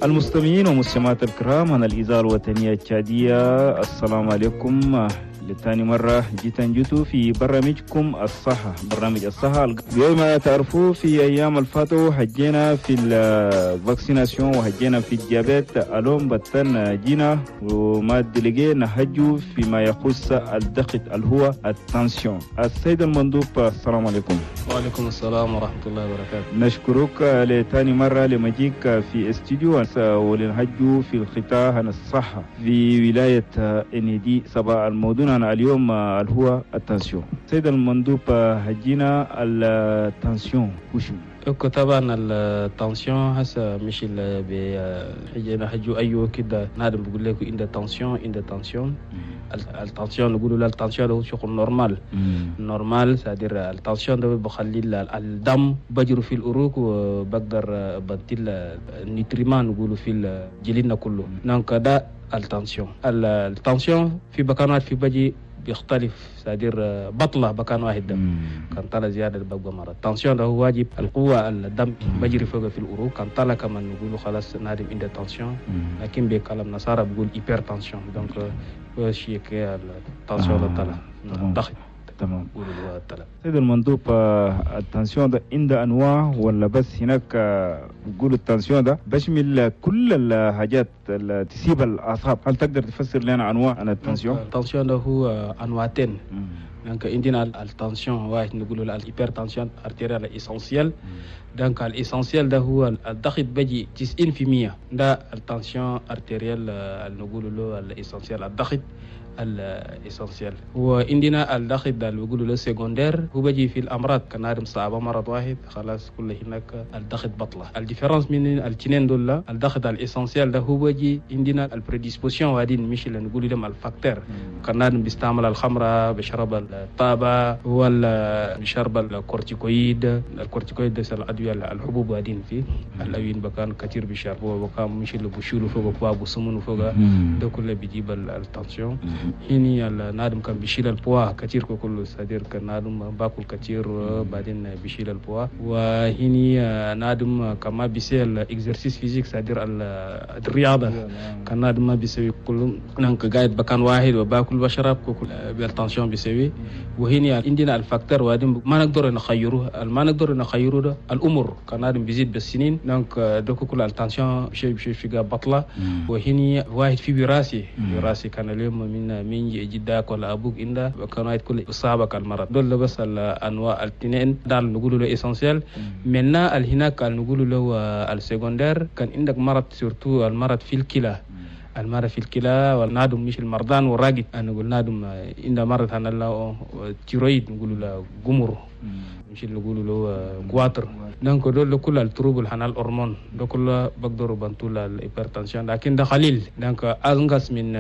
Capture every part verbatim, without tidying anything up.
المستمعين والمستمعات الكرام عن الإذاعة الوطنية التشادية، السلام عليكم. لثاني مرة جيت جيتوا في برنامجكم الصحة، برنامج الصحة. زي ما تعرفوا، في أيام الفاتوا حجينا في ال vaccination وحجينا في ال diabète. اليوم بتن جينا وما délégué نحجوا فيما يخص الضغط اللي هو ال tension. السيد المندوب، السلام عليكم. وعليكم السلام ورحمة الله وبركاته. نشكرك لثاني مرة لمجيك في استوديو ولنحجوا في القطاع عن الصحة في ولاية إنيدي سبا. الموضوع عن اليوم اللي هو ال tension. سيد المندوب، حجينا ال tension وشو؟ okay، طبعا ال tension هسه مش اللي بي حجو ايوه كده نادم بيقول لك عند tension، عند tension. ال tension نقولوا لا، ال tension هو شغل normal normal، c'est-à-dire ال tension ده بخلي الدم بجري في العروق وبقدر بدل ال nutriments نقولوا في جلدنا كله. donc ده ال tension. ال tension في بكانات في بجي بيختلف، c'est-à-dire بطلع بكان واحد ده كان طلع زيادة ببقى مرض. ال tension ده هو واجب القوة الدم بجري فوق في العروق، كان طلع كمان نقولوا خلاص نادم عنده tension، لكن بكلام نصارى بيقول hypertension. donc هو شيء ال tension ده طلع الضغط. تمام. بيقولوا طلع. سيد المندوب، ال tension ده عنده انواع ولا بس هناك بيقولوا ال tension ده بشمل كل الحاجات اللي تسيب الاعصاب؟ هل تقدر تفسر لنا انواع عن ال tension؟ ال tension ده هو انواعتين. donc عندنا ال tension واحد نقولوا ال hypertension artérielle essentielle. donc ال essentielle ده هو الضغط بيجي تسعين في المية، ده ال tension artérielle اللي نقولوا له ال essentielle، الضغط ال essentiel. وعندنا الضغط ده اللي بيقولوا له secondaire، هو بيجي في الامراض، كان نادم صعبة مرض واحد خلاص كل هناك الضغط بطلة. ال différence من الاثنين دول، الضغط ال essentiel ده هو بيجي عندنا ال prédisposition وادين، مش اللي نقول لهم ال facteurs، كان نادم بيستعمل الخمرة، بيشرب الطابة، ولا بيشرب ال corticoïdes. ال corticoïdes ده الادوية الحبوب وادين فيه الاوين بكان كثير بيشربوه، بكان مش اللي بيشيلوا فوق باب وسمنوا فوق، ده كله بيجيب ال tension. هني النادم كان بيشيل ال poids كثير كله، c'est-à-dire كان نادم باكل كثير بعدين بيشيل ال poids. وهني نادم كما بيسوي ال exercice physique، c'est-à-dire الرياضه، كان نادم ما بيسوي كله، donc قاعد بكان واحد وباكل بشرب كل بال tension بيسوي. وهني عندنا ال facteur وادين ما نقدر نخيره، ما نقدر نخيره ده الامور، كان نادم بيزيد بالسنين، donc ده كل ال tension بشيء بشيء في بطلة. وهني واحد في وراثي، وراثي كان اليوم من من جدك ولا ابوك عنده كان واحد كل اصابك المرض. دول بس الانواع الاثنين ده اللي نقولوا له essentiel. منا هناك اللي نقولوا له ال secondaire، كان عندك مرض، surtout المرض في الكلى، المرض في الكلى والنادم مش المرضان والراقد، انا نقول نادم عنده مرض هنا له thyroïde، نقولوا له قمر، مش اللي نقولوا له goitre. donc دول كل ال troubles هنا الهرمون ده كله بقدروا بنتوا ال hypertension، لكن ده قليل، donc انقص من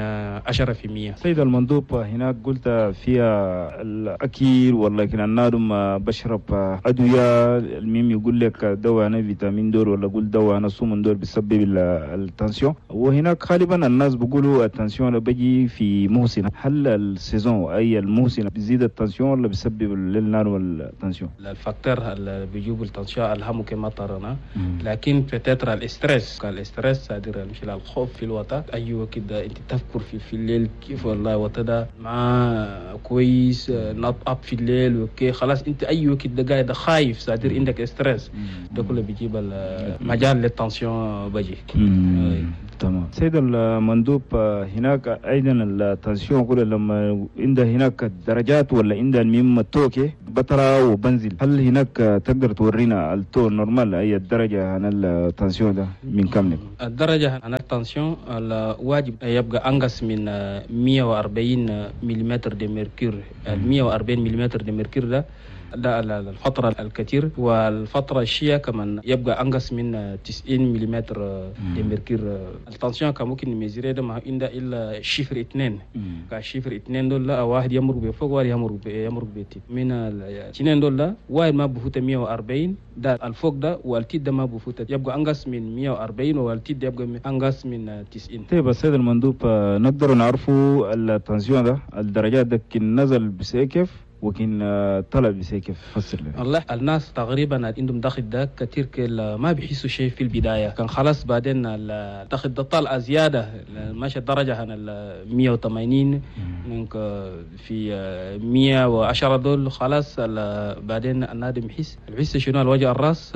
عشرة في المية. سيد المندوب، هناك قلت فيها الاكل ولا كان النادم بشرب ادويه، المهم يقول لك دواء انا فيتامين دور ولا قول دواء انا سومن دور بيسبب ال tension. وهناك غالبا الناس بيقولوا ال tension بيجي في موسم، هل ال saison اي الموسم بيزيد ال tension ولا بيسبب للنار ال tension؟ ال facteur اللي بيجيب ال tension الهم كما ترانا، لكن peut-être ال stress، ال stress c'est-à-dire مش الخوف في الوطا، ايوه كده انت تفكر في, في الليل كيف والله وطا ده ما كويس، نط up في الليل وكي خلاص انت ايوه كده قاعد خايف، c'est-à-dire عندك stress، ده كله بيجيب المجال لل tension بجي. تمام. سيد المندوب، هناك ايضا ال tension كل لما عند هناك درجات ولا عند المهم التوكي بطلع وبنزل، هل هناك تقدر تورينا ال taux normal اي الدرجة عن ال tension ده من كم لك؟ الدرجة عن ال tension الواجب يبقى انقص من مية وأربعين millimètre de mercure. مية وأربعين millimètre de mercure ده ده الفترة الكثير، والفترة الشيء كمان يبقى أنقص من تسعين millimètre de mercure. ال tension كان ممكن ن mesurer ده ما عند إلا chiffre اثنين، ك chiffre اثنين دول واحد يمرق بفوق واحد يمرق يمرق بتيت. من الاثنين دول واحد ما بفوت مية وأربعين، ده الفوق ده، والتيت ده ما بفوت، يبقى أنقص من مية وأربعين، والتيت ده يبقى أنقص من تسعين. طيب السيد المندوب، نقدر نعرفوا ال tension ده الدرجات ده كن نزل بس كيف؟ وكن طلب كيف فسر لنا. والله الناس تقريبا عندهم ضغط ده كثير ما بيحسوا شيء في البداية، كان خلاص بعدين الضغط ده طلع زيادة ماشي الدرجة عن ال مية وثمانين في مية وعشرة دول خلاص. بعدين النادم يحس الحس شنو الوجع الراس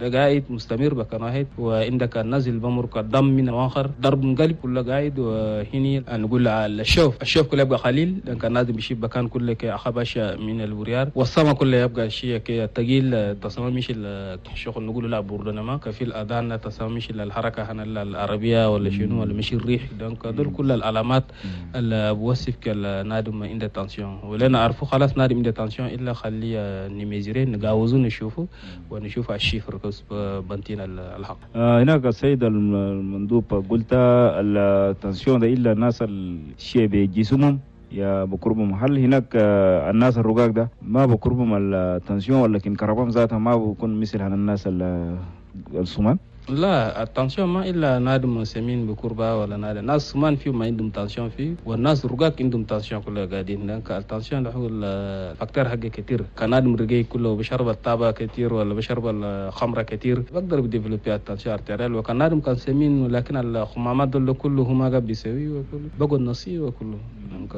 ده قاعد مستمر بكان واحد، وعندك النزل بمرق الدم من الاخر ضرب قلب كله قاعد. وهني نقول الشوف الشوف كله يبقى قليل لان النادم بيشيب بكان كله كأخبش من الوريار، والسما كله يبقى شيء كي ثقيل تصمم مش الشغل نقول لا بوردنا ما كفي الاذان تصمم مش الحركة هنا العربية ولا شنو ولا مش الريح. donc دول كل العلامات اللي بوصف كالنادم عنده tension، ولا نعرفه خلاص نادم عنده tension الا خليه ن mesurer نجاوزه نشوفه ونشوف ال chiffre كوس بنتين الحق. آه هناك السيد المندوب قلت ال tension ده الا الناس الشيء بجسمهم يا بقربهم، هل هناك الناس الرقاق ده ما بقربهم ال tension ولكن كربهم ذاتها ما بيكون مثل هن الناس السمان؟ لا ال tension ما الا نادم سمين بكربة ولا نادم ناس سمان فيه ما عندهم tension فيه، والناس رقاق عندهم tension كلها قاعدين. لانك ال tension ده هو ال facteur حقه كتير، كان نادم رقيق كله بشرب التابة كتير ولا بشرب الخمرة كتير بقدر ب développer ال tension artérielle. وكان نادم كان سمين ولكن الخمامات دول كله هما قاعد بيسوي وكله بقوا النصي وكله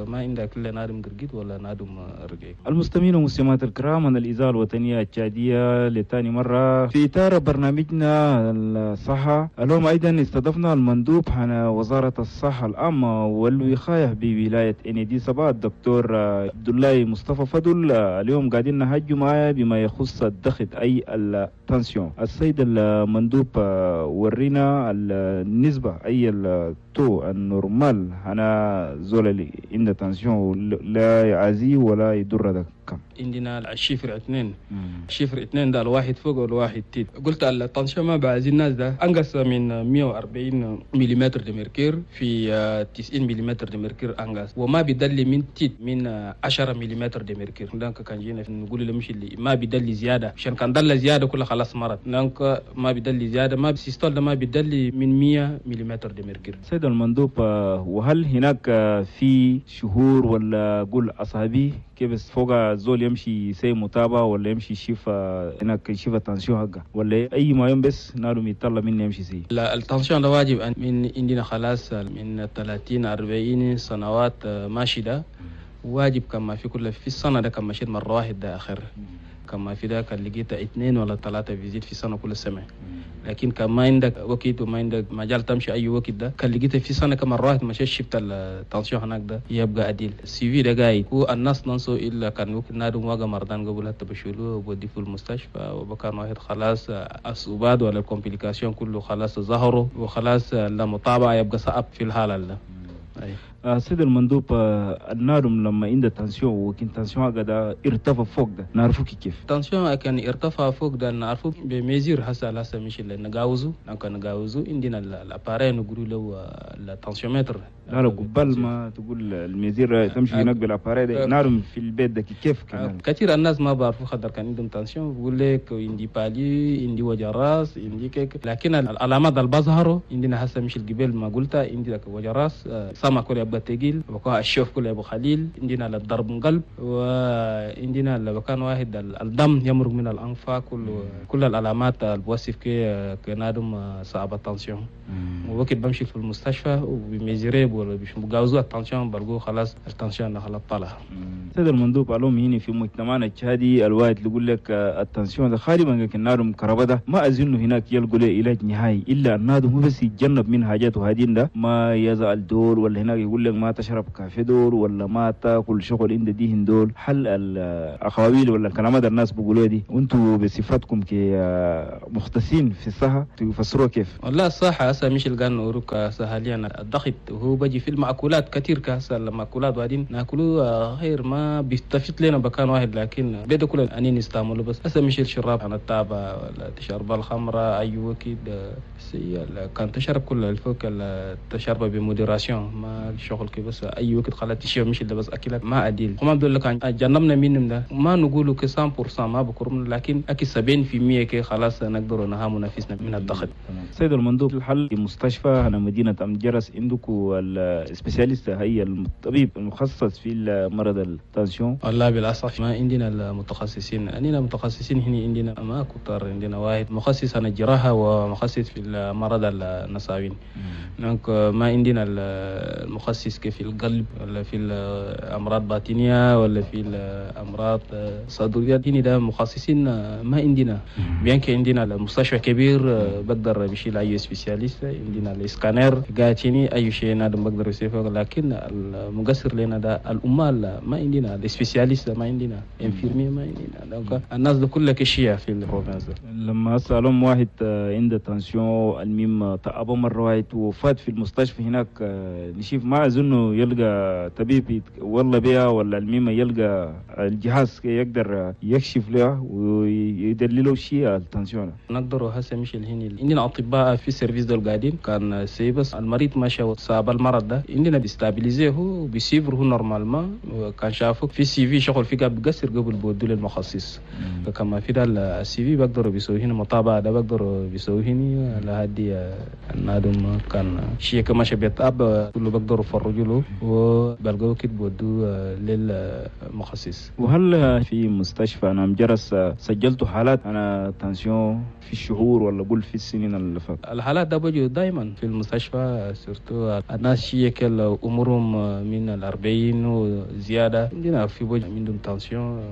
ما عندك الا نادم قرقيد ولا نادم رقيق. المستمعين والمستمعات الكرام، من الاذاعة الوطنية التشاديه لثاني مرة في اطار برنامجنا الصحة، اليوم أيضا استضفنا المندوب عن وزارة الصحة العامة والوقاية بولاية إندي سبا الدكتور عبد الله مصطفى فضل. اليوم قاعدين نهج معايا بما يخص الضغط أي ال tension. السيد المندوب ورينا النسبة أي ال taux ال normal أنا زول اللي عنده tension لا يعزي ولا يضر ده كم؟ عندنا ال chiffre اثنين، ال chiffre اثنين ده الواحد فوق والواحد تيت. قلت ال tension ما بعزي الناس ده انقص من مية وأربعين millimètre de mercure في تسعين millimètre de mercure انقص، وما بيدلي من تيت من عشرة millimètre de mercure. donc كان جينا نقول له مش اللي ما بيدلي زيادة، عشان كان دل زيادة كله خلاص مرض. donc ما بيدلي زيادة ما systole ده ما بيدلي من مية millimètre de mercure. سيد المندوب، وهل هناك في شهور ولا قول اصابي كيف فوق زول يمشي سي متابعة ولا يمشي يشوف هناك يشوف ال tension حقه ولا اي ما يوم بس نادم يطلع مني يمشي سي؟ لا ال tension ده واجب من عندنا خلاص من ثلاثين أربعين سنوات ماشي ده واجب كما في كل في السنة ده كما مشيت مرة واحد ده اخر كما في ذاك لقيت اثنين ولا ثلاثة visites في سنة كل سنة. لكن كان ما عندك وقت وما عندك مجال تمشي أي وقت ده كان لقيت في سنة كم مرة واحد مشيت شفت ال tension هناك ده يبقى عديل ال suivi ده قاعد. هو الناس ننسوا إلا كان وقت نادم واقع مرضان قبل حتى بشيلوه وبودي في المستشفى وبكان واحد خلاص الصعوبات ولا ال complications كله خلاص ظهروا وخلاص المتابعة يبقى صعب في الحالة ده. أي. سيد المندوب، النادم لما عنده tension وكن tension هذا ارتفع فوق ده نعرفه كيف؟ tension كان ارتفع فوق ده نعرفه ب mesure هسه هسه مش اللي نجاوزه، نكون نجاوزه عندنا ال appareil نقولوا له ال tensiomètre. لا لا قبل ما تقول ال mesure تمشي هناك بال appareil ده نعرف في البيت ده كيف كمان؟ كثير الناس ما بعرفوا خاطر كان عندهم tension بيقول لك عندي palu عندي وجع راس عندي كيك، لكن العلامات اللي بظهروا عندنا هسه مش الجبال ما قلتها عندك وجع راس سما كل يبقى تقيل وكا الشوف كله ابو خليل عندنا الضرب قلب وعندنا لو كان واحد الدم يمرق من الانف كل كل العلامات اللي بوصف كي كنادم صعب ال tension. ووقت بمشي في المستشفى وب mesurer ولا بجاوزوا ال tension بلقوا خلاص ال tension خلاص طلع. سيد المندوب، علوم هنا في مجتمعنا التشادي الواحد اللي يقول لك ال tension ده غالبا كنادم كربده ده ما اظن هناك يلقوا له علاج نهائي الا النادم هو بس يتجنب من حاجاته هذين ده ما يزعل دول ولا هناك يقول لك ما تشرب كافي دول ولا ما تاكل شغل عند ديهن دول. هل الاقاويل ولا الكلامات الناس بيقولوها دي وانتم بصفتكم كمختصين في الصحة تفسروها كيف؟ والله الصحة هسه مش القان نوروك حاليا الضغط وهو بيجي في المأكولات كثير كهسه المأكولات بعدين ناكلوه غير ما بيستفيد لنا بكان واحد، لكن بيدا كل اني نستعمله بس هسه مش الشراب عن التابة ولا تشرب الخمرة اي وقت كان تشرب كل الفوق تشرب ب modération ما شغل شغل كي بس اي وقت خلاص تشيل مش ده بس اكلك ما اديل هم دول كان جنبنا منهم ده ما نقولوا ك مية بالمية ما بكرمنا، لكن اكيد سبعين بالمية كي خلاص نقدر نهامو نفسنا من الضغط. سيد المندوب، الحل في مستشفى هنا مدينة أم جرس عندكم ال spécialiste هي الطبيب المخصص في مرض ال tension؟ والله بالأسف ما عندنا المتخصصين، عندنا متخصصين هنا عندنا ما كتر، عندنا واحد مخصص عن الجراحة ومخصص في المرض النساوين. donc ما عندنا المخصص في القلب ولا في الأمراض باطنية ولا في الأمراض صدرية، هنا ده مخصصين ما عندنا. bien que عندنا المستشفى كبير بقدر بشيل أي spécialiste، عندنا الإسكانر قاعدين أي شيء نادم بقدر يسويه، لكن المقصر لنا ده الأمال ما عندنا، ال spécialiste ما عندنا، infirmier ما عندنا. donc الناس ده كلها كشية في ال province. لما أسألهم واحد عنده tension الميم تعبه مرة واحد وفات في المستشفى هناك، نشوف ما أظنه يلقى طبيب والله بيها ولا الميم يلقى الجهاز يقدر يكشف له ويدلله شيء ال tension. نقدر هسه مش الهني عندنا أطباء في ال service دول قاعدين كان سيبس المريض ماشي صاب المرض ده عندنا بي stabiliser هو بي suivre هو normalement، كان شافه في suivi شغل في قبل بقصر قبل بودو للمخصص. كما في ده ال suivi بقدروا بيسوي هنا متابعة ده بقدروا بيسوي هنا لهدي النادم كان شيء كما شبيت أب كله بقدروا يفرجوا له وبلقوا كده بودو للمخصص. وهل في مستشفى أنا مجرس سجلت حالات أنا tension في الشهور ولا قول في السنين اللي فاتت؟ الحالات ده بوجود دائما في المستشفى، surtout الناس شيء كل أمورهم من الأربعين وزيادة عندنا في بوجود عندهم tension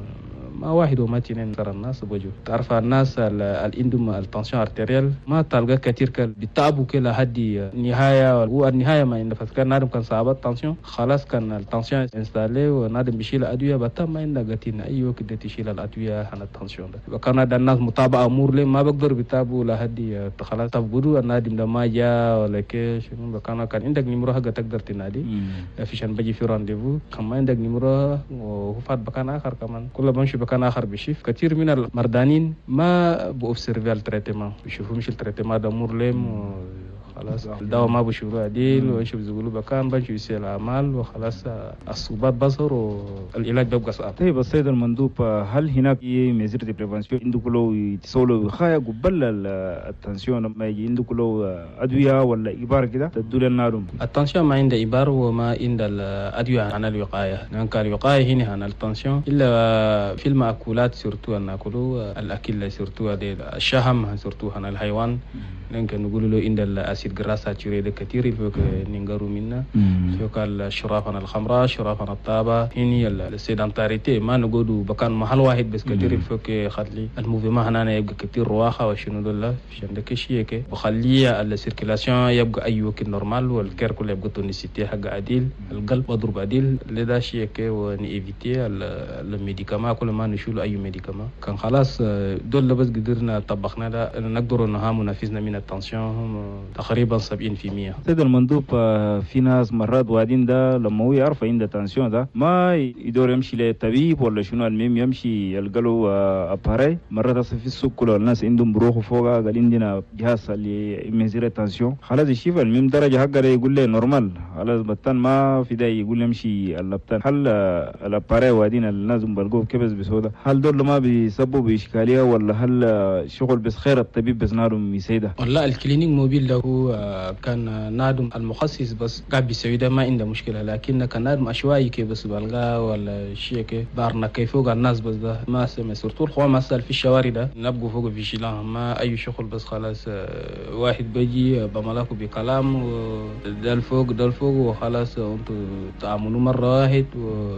ما واحد وما اثنين ترى الناس بوجو. تعرف الناس اللي عندهم ال tension artérielle ما تلقى كثير كل بيتعبوا كل هدي النهاية، والنهاية ما عندنا فكان نادم كان صعب ال tension خلاص كان ال tension installée ونادم بيشيل أدوية بتم ما عندنا قتين أي وقت تشيل الأدوية عن ال tension ده. وكان هذا الناس متابعة أمور لي ما بقدر بيتعبوا لهدي خلاص تفقدوا النادم ده ما جاء ولا كيش. كان كان عندك numéro حاجة تقدر تنادي فيشان بيجي في rendez-vous، كمان عندك numéro وفات بكان آخر كمان كل بمشي بكان آخر بشيف. كثير من المردانين ما ب observer ال traitement بيشوفوا مش ال traitement ده مور لهم خلاص الدواء ما بشوفوا عديل ويشوف زقولوا بكان بنشوف يسير الأعمال وخلاص الصوبات بصر والعلاج بيبقى صعب. طيب السيد المندوب، هل هناك mesures de prévention عندكم لو يتسولوا وقاية قبل ال tension ما يجي عندكم لو أدوية ولا إبار كده تدوا لنا؟ ال tension ما عنده إبار وما عنده الأدوية عن الوقاية. donc الوقاية هنا عن ال tension إلا في المأكولات surtout ناكلوا الأكل surtout الشهم surtout عن الحيوان. donc نقول له عند ال acides gras saturés ده كثير فوق ننقروا منه فوق الشراف عن الخمرة شراف عن الطابة هني ال sédentarité ما نقولوا بكان محل واحد بس كثير فوق خلي ال mouvement هنا يبقى كثير رواخة وشنو دول عشان ده شيء كي بخليه ال circulation يبقى أي وقت normal وال cœur كله يبقى tonicité حق عديل القلب بضرب عديل لذا شيء كي ون éviter ال médicament كل ما نشيل أي médicament كان خلاص دول بس قدرنا طبقنا ده نقدر نهام نفسنا من ال tension تقريبا سبعين في المية. سيد المندوب، في ناس مرات وادين ده لما هو يعرف عنده tension ده ما يدور يمشي للطبيب ولا شنو، المهم يمشي يلقى له appareil. مرات اصلا في السوق كله الناس عندهم بروحوا فوق قال عندنا جهاز اللي mesurer tension خلاص يشوف المهم درجه حقه يقول له normal خلاص بطن ما في ده يقول يمشي اللبتان. هل ال appareil وادين الناس بلقوه كبس بسوده هل دول ما بيسببوا باشكاليه ولا هل شغل بس خير الطبيب بس نارهم يسيده؟ والله ال clinique mobile ده هو كان نادم المخصص بس قاعد بيسوي ده ما عنده مشكلة، لكن كان نادم عشوائي كي بس بلغا ولا شيء كي بارنا كيف فوق الناس بس ده ما سمع surtout الخوا ما في الشوارع ده نبقوا فوق في شيلان ما اي شغل بس خلاص واحد بيجي بملاكه بكلام ده الفوق ده الفوق وخلاص انتوا تعاملوا مرة واحد و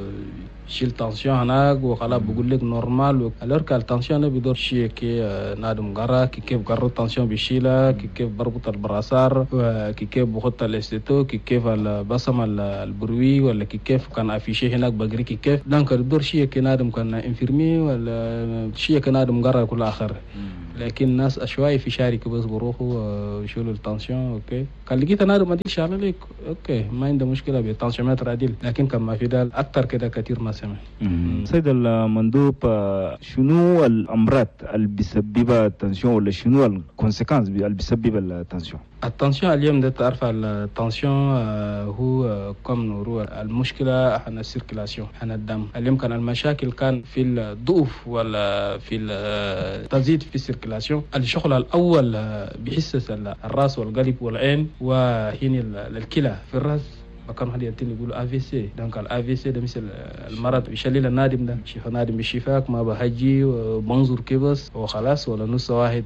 شيل tension هناك وخلاص بقول لك normal. alors que ال tension بيدور شيء كي نادم قرا كي كيف قرر ال tension بيشيلها كي كيف بربط ال brassard كي كيف بخط ال stétho كي كيف البصم ال bruit ولا كي كيف كان affiché هناك بقري كي كيف. donc بدور شيء كي نادم كان infirmier ولا شيء كي نادم قرا كل اخر. لكن الناس اشواي في شارك بس بروحوا ويشيلوا ال tension OK كان لقيت نادم ما ديش على لك OK ما عنده مشكلة بال tensiomètre عديل، لكن كان ما في ده اكثر كده كثير ما سمع. سيد المندوب، شنو الامراض اللي بيسببها ال tension ولا شنو ال conséquences اللي بيسببها ال tension؟ ال tension اليوم ده تعرف ال tension هو comme نورو المشكلة احنا ال circulation احنا الدم. اليوم كان المشاكل كان في الضعف ولا في التزيد في ال circulation. الشغل الاول بيحسس الراس والقلب والعين وهين الكلى. في الراس بكان واحد ينتني يقولوا AVC. donc ال AVC ده مثل المرض بيشلل النادم ده، شيف نادم بشفاك ما بهجي وبنظر كبس وخلاص، ولا نص واحد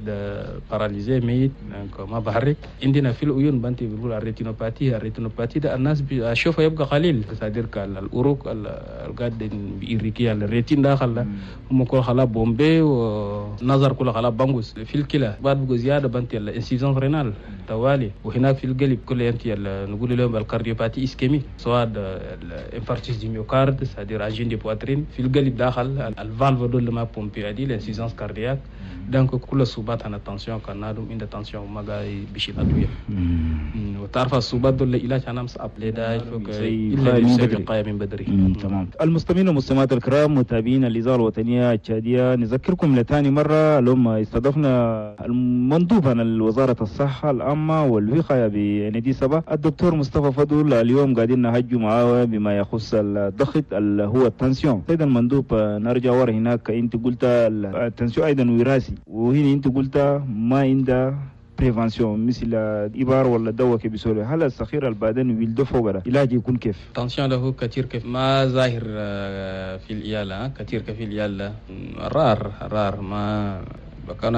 paralysé ميت donc ما بحرك. عندنا في العيون بنتي بيقولوا ال rétinopathie. ال rétinopathie ده الناس بيشوفها يبقى قليل، c'est-à-dire الأوروق القاد بيريكي ال rétine داخل هم كل خلا بومبي ونظر كل خلا بانغوس. في الكلى بعد بقى زيادة بنتي ال insuffisance rénale توالي. وهناك في القلب كل ينتي نقول لهم ال cardiopathie ischémique، سواء ال infarctus du myocarde c'est-à-dire angine de poitrine. في القلب داخل ال valve دول ما pomper دي ال insuffisance cardiaque. donc كل الصوبات عن ال tension كان نادم عند tension ما قاعد بيشيل ادوية. وتعرف الصوبات دول العلاج انا مصعب لدا الا الوقاية من بدري. تمام. المستمعين والمستمعات الكرام متابعين الاذاعة الوطنية التشاديه، نذكركم لثاني مرة لما استضفنا المندوب عن وزارة الصحة العامة والوقاية بندي سبا الدكتور مصطفى فضل. اليوم قاعدين نهجوا معاه بما يخص الضغط اللي هو ال tension. سيد المندوب نرجع ورا هناك، انت قلت ال tension ايضا وراثي، وهنا انت قلت ما عنده prévention مثل إبار ولا دواء كي بيسولي. هل الصغير البعدين ويلدو فوق ده علاج يكون كيف؟ tension له كثير كيف ما ظاهر في العيال، كثير كيف في العيال rare rare ما كان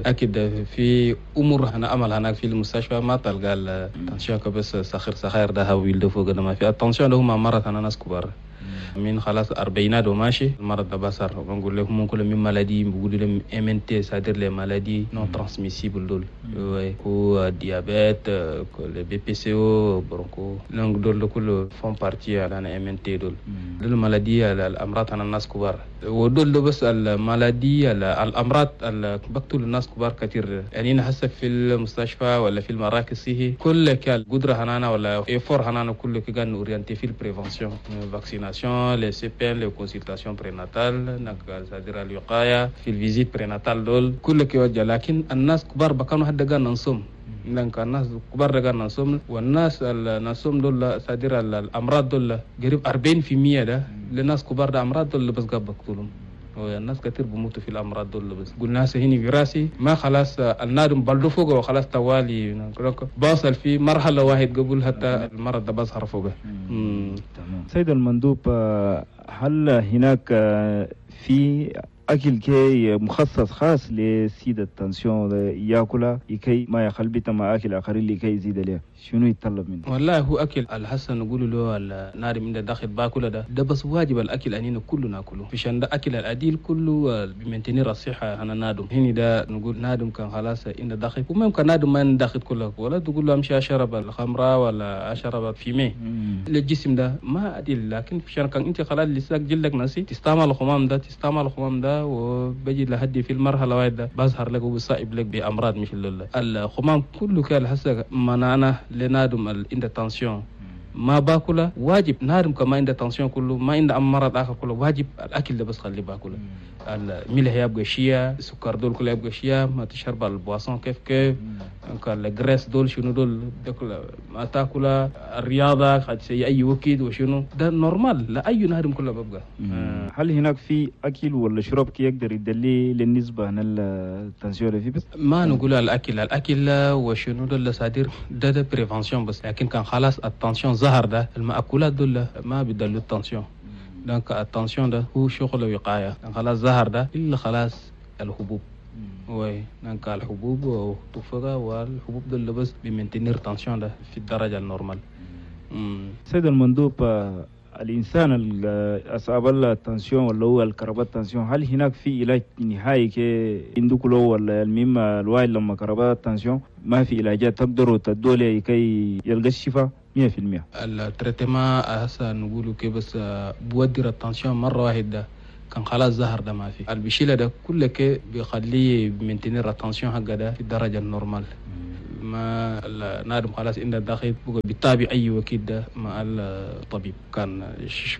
اكيد في امور هنا عمل هناك في المستشفى ما تلقى ال tension بس صغير صغير ده ويلدو فوق ده ما في. ال tension له ما مرت انا ناس كبار من خلاص أربعينات وماشي المرض ده بصر. بنقول لهم ممكن من maladies بيقولوا لهم MNT c'est-à-dire les maladies non transmissibles دول هو diabète le BPCO broncho donc دول كله font partie على MNT دول دول maladies الامراض على الناس كبار. ودول بس ال maladies الامراض اللي بقتل الناس كبار كثير. يعني هسه في المستشفى ولا في المراكز صحي كل كال قدره هنانا ولا effort هنانا كله كان orienté في ال prévention vaccination les CPN les consultations prénatales c'est-à-dire الوقاية في ال visites prénatales دول كل كيوجه. لكن الناس كبار بكانوا حد قال ننصم، لأن الناس كبار قال ننصم، والناس النصم دول c'est-à-dire الامراض دول قريب أربعين في المية ده للناس كبار ده امراض دول بس قاب بقتلهم. والناس كثير بموتوا في الامراض دول بس. قلنا هنا وراثي ما خلاص النادم بلدو فوق وخلاص توالي بوصل في مرحلة واحد قبل حتى المرض ده بظهر فوقه. تمام. سيد المندوب، هل هناك في أكل كي مخصص خاص لسيد ال tension ياكله لكي ما يخلبط مع أكل آخرين لكي يزيد له؟ شنو يتطلب منه؟ والله هو أكل الحسن نقول له النار من داخل باكله ده ده بس واجب الأكل أننا كله ناكله، عشان ده أكل العديل كله ب maintenir الصحة. أنا نادم هني ده نقول نادم كان خلاص إن داخل، وما يمكن نادم ما داخل كله ولا تقول له أمشي أشرب الخمرة ولا أشرب fumée للجسم ده ما عديل. لكن عشان كان أنت خلاص لساك جلدك ناسي تستعمل الخمام ده تستعمل الخمام ده وبجي لحد في المرحلة واحدة بظهر لك وبصائب لك بامراض مثل الخمام كله كان هسه منعنا لنادم عند tension ما باكله واجب نادم كما عند tension كله ما عند مرض اخر كله واجب الاكل ده بس خلي باكله. الملح يبقى شيا، السكر دول كله يبقى شيا، ما تشرب ال boisson كيف كيف ال graisse دول شنو دول ما تاكل، الرياضة قد اي وقت وشنو ده normal لا اي نهر كله ببقى. آه. هل هناك في اكل ولا شرب كي يقدر يدلي للنسبه عن ال tension في بس؟ ما نقول الاكل الاكل وشنو دول c'est-à-dire ده ده prévention بس، لكن كان خلاص ال tension ظهر ده المأكولات دول ما بيدلوا ال tension. donc ال tension ده هو شغل وقاية، خلاص ظهر ده الا خلاص الحبوب oui donc الحبوب وتفقه والحبوب دول بس ب maintenir tension ده في الدرجة ال normale. سيد المندوب، الانسان اصاب ال tension ولا هو الكربات tension، هل هناك في علاج نهائي كي عندك له ولا المهم الواحد لما كربات tension ما في علاجات تقدروا تدوا له كي يلقى الشفاء مية في المية؟ ال traitement هسه نقولوا كي بس بودر ال tension مرة واحدة كان خلاص ظهر ده ما في البشيلة ده كله كي بيخليه maintenir ال tension حقه ده في الدرجة ال normale. ما النادم خلاص عنده ضغط بقى بيتابع اي وقت ده مع الطبيب كان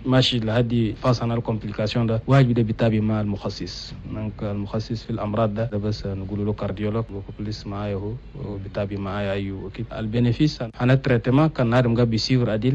ماشي لهدي phase ال complications ده واجب ده بيتابع مع المخصص donc المخصص في الامراض ده, ده بس نقول له cardiologue beaucoup plus معايا هو بيتابع معايا اي وقت ال bénéfice هنا traitement كان نادم قاعد بي suivre عديل.